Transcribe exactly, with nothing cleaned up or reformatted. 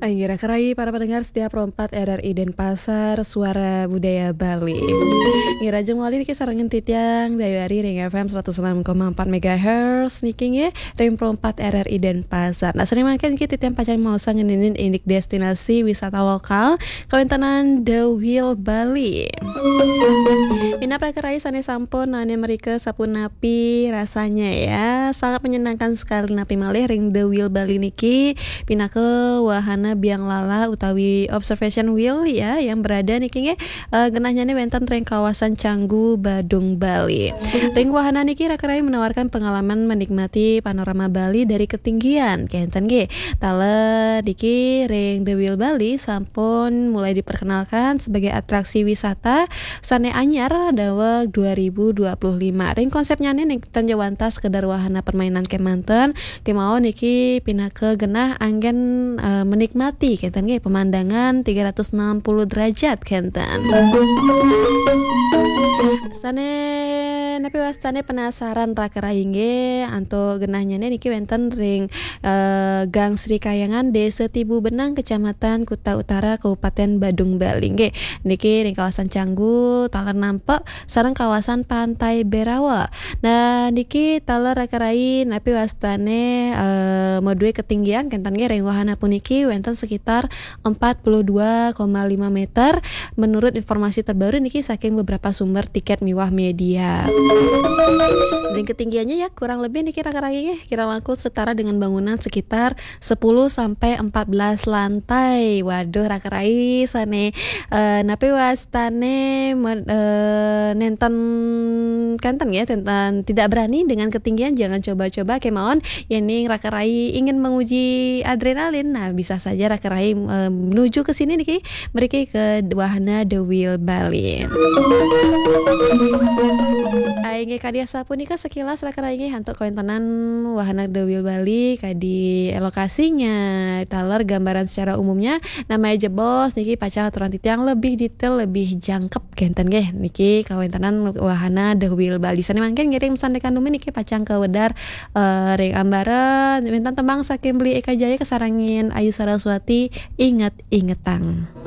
Inggih, raka rayi para pendengar setia Pro empat R R I Denpasar, Suara Budaya Bali. Inggih, rajeng malih niki sarengan titiang Dayu Ari ring F M seratus enam koma empat megahertz niki nggih, ring Pro empat R R I Denpasar. Nah, sané mangkin niki titiang pacang maosang ngeninin indik destinasi wisata lokal kawéntenan The Wheel Bali. Minab raka rayi sané sampun naenin mrika sapunapi rasanya ya. Sangat menyenangkan sekali napi malih ring The Wheel Bali niki pinaka wahana biang lala utawi observation wheel ya yang berada niki nggih, eh, genahnya wénten ring kawasan Canggu, Badung, Bali. Ring wahana niki raka rayi menawarkan pengalaman menikmati panorama Bali dari ketinggian. Kénten nggih. Taler niki ring The Wheel Bali sampun mulai diperkenalkan sebagai atraksi wisata sané anyar daweg dua ribu dua puluh lima. Ring konsepnya nih, ning tan jawanta sekedar wahana permainan kémanten, kémaon niki pinaka genah anggén, eh, menikmati kénten nggih pemandangan tiga ratus enam puluh derajat kénten. Sané napi wastané penasaran raka rayi nggih antuk genahnya niki wénten ring, eh, Gang Sri Kayangan, Desa Tibu Benang, Kecamatan Kuta Utara, Kabupaten Badung, Bali nggih. Niki ring kawasan Canggu, taler nampek sareng kawasan Pantai Berawa. Nah, niki taler raka rayi napi wastané, eh, madué ketinggian kénten nggih ring wahana puniki wénten sekitar empat puluh dua koma lima meter menurut informasi terbaru niki saking beberapa sumber tiket miwah media. Dan ketinggiannya ya kurang lebih niki raka rayi nggih, kira langkung setara dengan bangunan sekitar sepuluh sampai empat belas lantai. Waduh, raka rayi sané, eh, napi wastané men-, eh, nénten kénten ya, nénten tidak berani dengan ketinggian, jangan coba-coba kémaon. Yéning raka rayi ingin menguji adrenalin, nah, bisa saja raka rayi, eh, menuju ke sini niki, mriki ke wahana The Wheel Bali. Inggih, kadi asapunika sekilas raka rayi nggih antuk kawéntenan wahana The Wheel Bali, kadi lokasinya, taler gambaran secara umumnya, namaya jebos niki pacang aturan titiang lebih detail, lebih jangkep kénten nggih. Niki kawéntenan wahana The Wheel Bali. Sané mangkin ngiring sandékan dumun niki pacang kawedar, eh, ring ambara wénten tembang saking Beli Eka Jaya kasarengin Ayu Saraswati, Inget-ingetang.